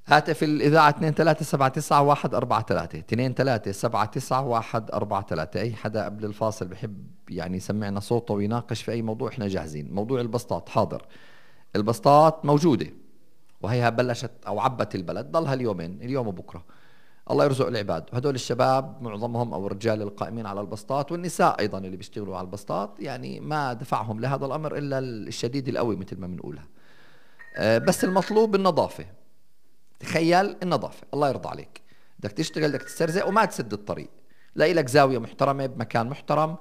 هاتف الإذاعة 23799143 23799143. أي حدا قبل الفاصل بحب يعني يسمعنا صوته ويناقش في أي موضوع إحنا جاهزين. موضوع البسطات حاضر، البسطات موجودة وهيها بلشت أو عبت البلد، ضلها اليومين، اليوم وبكرة، الله يرزق العباد. وهدول الشباب معظمهم أو الرجال القائمين على البسطات والنساء أيضا اللي بيشتغلوا على البسطات، يعني ما دفعهم لهذا الأمر إلا الشديد القوي مثل ما بنقولها. بس المطلوب النظافة. تخيل النظافة، الله يرضى عليك، بدك تشتغل بدك تسترزق وما تسد الطريق، لاقي لك زاوية محترمة بمكان محترم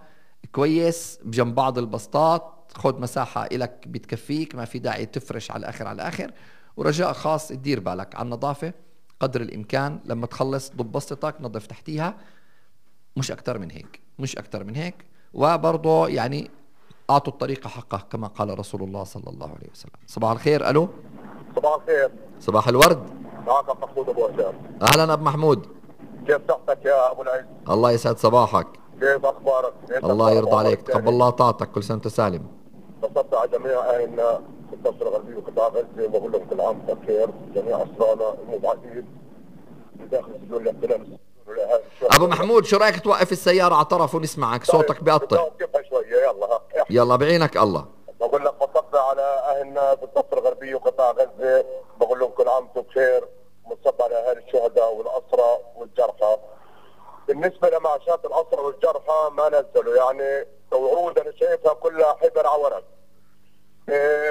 كويس بجنب بعض البسطات، خد مساحة إلك بتكفيك، ما في داعي تفرش على الآخر على الآخر. ورجاء خاص تدير بالك على النظافة قدر الإمكان، لما تخلص ضب بسطتك نظف تحتيها، مش أكتر من هيك، مش أكتر من هيك. وبرضه يعني أعطوا الطريقة حقه كما قال رسول الله صلى الله عليه وسلم. صباح الخير. ألو. صباح الخير. صباح الورد. معك محمود أبو هشام. أهلا أبو محمود. كيف صحتك يا أبو العز؟ الله يسعد صباحك. كيف أخبارك؟ الله يرضى عليك، تقبل الله طاعتك، كل سنة وأنت سالم. بصبت على جميع أهلنا في الضفة الغربية وقطاع غزة وبقول لهم كل عام وأنتم بخير، جميع أسرانا المبعدين بداخل سجون الاحتلال. أبو محمود شو رأيك توقف السيارة على طرف ونسمعك، صوتك بيقطع. وقفها شوية يلا. يلا بعينك الله. بقول لك بصبت على أهلنا في الضفة الغربية وقطاع غزة، بقول لهم كل عام وأنتم بخير، مصب على أهالي الشهداء والأسرى والجرحى. بالنسبة لمعاشات الأسرى والجرحى ما نزلوا، يعني وعود أنا شايفها كلها حبر على ورق.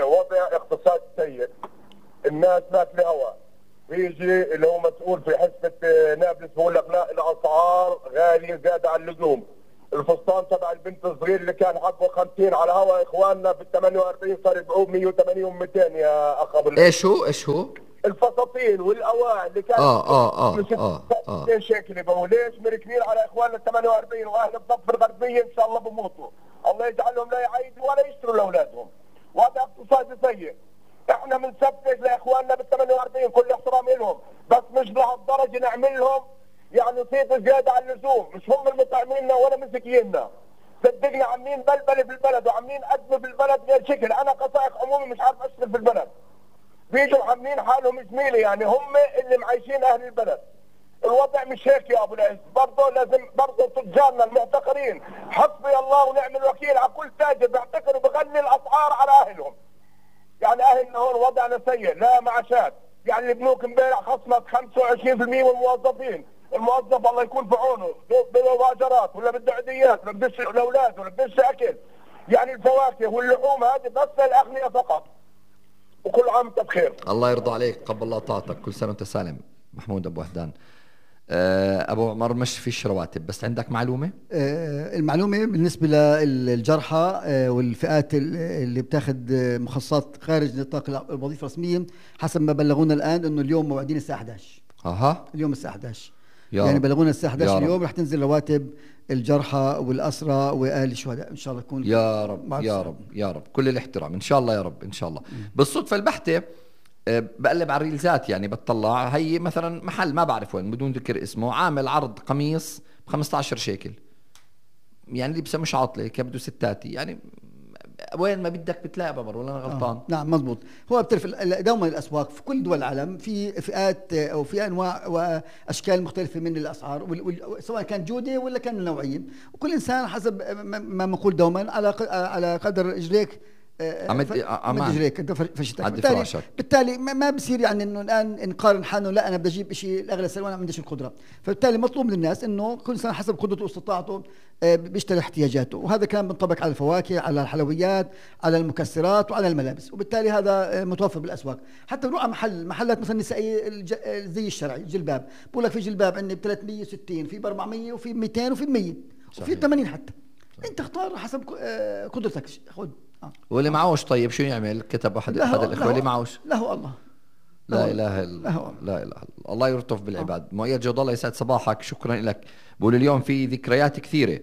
وضع اقتصاد سيء، الناس ماكله هوا. بيجي اللي هو مسؤول في حسبة نابلس بقول لك لا الأسعار غالية زيادة عن اللزوم. الفستان تبع البنت الصغير اللي كان حقه 50 على هوا إخواننا بال 48 صار يبيعوه 180 و200 يا أخ أبو. إيش هو؟ الفساتين والاواعي اللي كانت 2 شيكل يبقوا ليش مركنين على اخواننا ال 48 واهل الضفه الغربيه ان شاء الله بموتوا، الله يجعلهم لا يعيدوا ولا يشتروا لاولادهم. وهذا اقتصاد سيء. احنا بنسفك لاخواننا بال 48 كل احترام لهم، بس مش لهالدرجه نعمل لهم يعني صيت زياده عن اللزوم، مش هم المطعميننا ولا مسكيننا. صدقني عاملين بلبله في البلد وعاملين ازمه في البلد غير شكل، انا كسائق عمومي مش عارف اشتغل في البلد. بيجوا عاملين حالهم زميلي، يعني هم اللي معيشين اهل البلد. الوضع مش هيك يا ابو العز، برضه لازم برضه تجارنا المحتقرين حسبي الله ونعم الوكيل على كل تاجر بيحتقر وبغلي الاسعار على اهلهم. يعني اهلنا هون وضعنا سيء، لا معاشات، يعني البنوك امبارح خصمت 25% من الموظفين، الموظف الله يكون في عونه، بده واجرات ولا بده عيديات ولا بده الاولاد ولا بده اكل. يعني الفواكه واللحوم هذه بس للاغنياء فقط. وكل عام وانت بخير. الله يرضى عليك، قبل الله طاعتك، كل سنة وانت سالم. محمود أبو وهدان. أبو عمر مش فيش رواتب، بس عندك معلومة؟ المعلومة بالنسبة للجرحى والفئات اللي بتاخد مخصصات خارج نطاق الوظيفة الرسمية، حسب ما بلغونا الآن إنه اليوم موعدين الساعة 11. اليوم الساعة 11 يعني بلغونا الساعة 11 اليوم رح تنزل رواتب الجرحى والأسرى وأهل الشهداء إن شاء الله تكون. يا رب يا رب يا رب، كل الاحترام إن شاء الله يا رب إن شاء الله. بالصدفة البحتة بقلب على الريلزات، يعني بتطلع هي مثلا محل ما بعرف وين بدون ذكر اسمه عامل عرض قميص ب15 شيكل، يعني لبسه مش عاطله كبده ستاتي، يعني وين ما بدك بتلاقي بمر، ولا انا غلطان؟ نعم مزبوط. هو بتعرف دوما الاسواق في كل دول العالم في فئات او في انواع واشكال مختلفه من الاسعار، سواء كان جوده ولا كان نوعيه، وكل انسان حسب ما بنقول دوما على قدر رجليك عمد رجليك انت فشتك. بالتالي ما بصير يعني انه الان نقارن حالنا، لا انا بدي اجيب شيء الاغلى سعر وانا ما عنديش القدره، فبالتالي مطلوب من الناس انه كل انسان حسب قدرته واستطاعته بيشتري احتياجاته، وهذا كان بينطبق على الفواكه، على الحلويات، على المكسرات وعلى الملابس، وبالتالي هذا متوفر بالاسواق. حتى بنروح على محلات مثلا نسائيه زي الشرعي الجلباب، بقول لك في جلباب عندي ب 360، في ب 400 وفي ب 200 وفي ب 100 وفي 80 حتى. انت اختار حسب قدرتك، خذ. واللي معوش طيب شو يعمل؟ كتب احد الاخوه اللي معوش له الله لا اله الا الله، لا اله الا الله يلطف بالعباد. مؤيد جود الله يسعد صباحك، شكرا لك. بقول اليوم في ذكريات كثيره.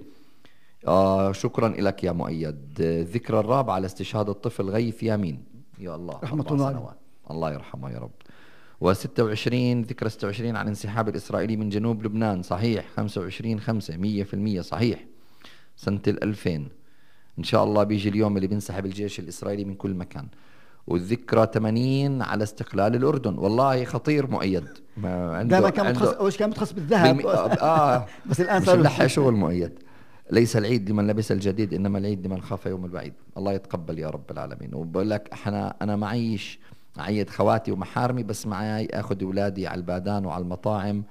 شكرا لك يا مؤيد. الذكرى الرابعه لاستشهاد الطفل غيث يامين، يا الله رحمه الله، الله يرحمه يا رب. و26 ذكرى 26 عن انسحاب الاسرائيلي من جنوب لبنان، صحيح 25/5 100% صحيح سنه 2000. إن شاء الله بيجي اليوم اللي بينسحب الجيش الإسرائيلي من كل مكان. والذكرى 80 على استقلال الأردن. والله خطير مؤيد. دائما كان متخصص، كان متخصص بالذهب بس الآن صار لحق شغل مؤيد. ليس العيد لمن لبس الجديد إنما العيد لمن خاف يوم البعيد. الله يتقبل يا رب العالمين. وبقول لك أنا معيش عيد خواتي ومحارمي، بس معي أخذ أولادي على البادان وعلى المطاعم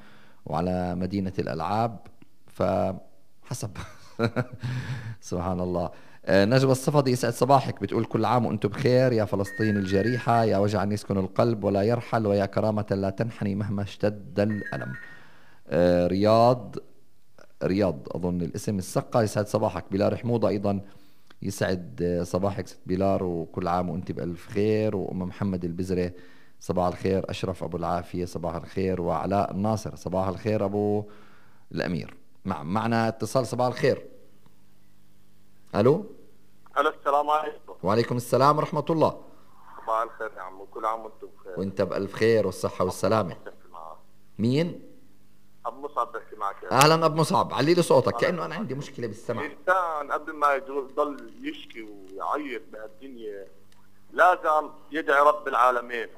وعلى مدينة الألعاب، فحسب. سبحان الله. نجوى الصفدي يسعد صباحك، بتقول كل عام وأنتم بخير يا فلسطين الجريحة، يا وجعا يسكن القلب ولا يرحل، ويا كرامة لا تنحني مهما اشتد الألم. رياض أظن الاسم السقا يسعد صباحك. بلار حموضة أيضا يسعد صباحك ست بلار، وكل عام وأنت بألف خير. وأم محمد البزرة صباح الخير. أشرف أبو العافية صباح الخير. وعلاء الناصر صباح الخير أبو الأمير. معنا اتصال. صباح الخير. ألو السلام عليكم. وعليكم السلام ورحمة الله. صباح الخير يا عمو، كل عام وانتم بخير. وانت بألف خير والصحة والسلامة. مين؟ أبو مصعب بحكي معك. أهلا أبو مصعب، علي لي صوتك كأنه أنا عندي مشكلة بالسمع. الإنسان قبل ما يضل يشكي ويعيط بهالدنيا لازم يدعي رب العالمين،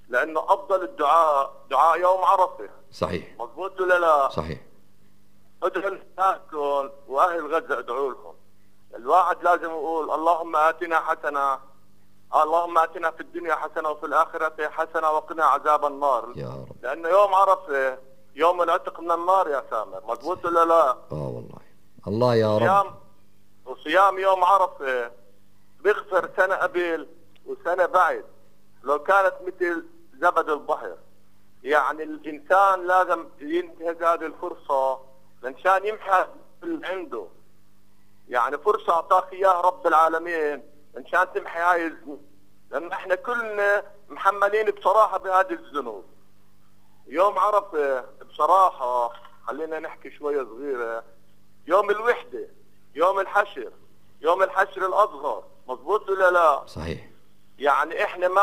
لأنه أفضل الدعاء دعاء يوم عرفة. صحيح. مضبوط ولا لا؟ صحيح. ادعوا لكم وأهل غزة ادعوا لهم. الواحد لازم يقول اللهم آتنا حسنة، اللهم آتنا في الدنيا حسنة وفي الآخرة حسنة وقنا عذاب النار. يا رب. لأنه يوم عرفة يوم العتق من النار يا سامر. مضبوط ولا لا؟ والله الله يا رب. وصيام يوم عرفة بيغفر سنة قبل وسنة بعد لو كانت مثل زبد البحر. يعني الإنسان لازم ينتهز هذه الفرصة لنشان يمحى اللي عنده. يعني فرصة أعطاك إياها رب العالمين لنشان تمحي هاي الذنوب، لأن احنا كلنا محملين بصراحة بهذه الذنوب. يوم عرفة بصراحة خلينا نحكي شوية صغيرة، يوم الوحدة، يوم الحشر، يوم الحشر الأصغر. مضبوط ولا لا؟ صحيح. يعني احنا ما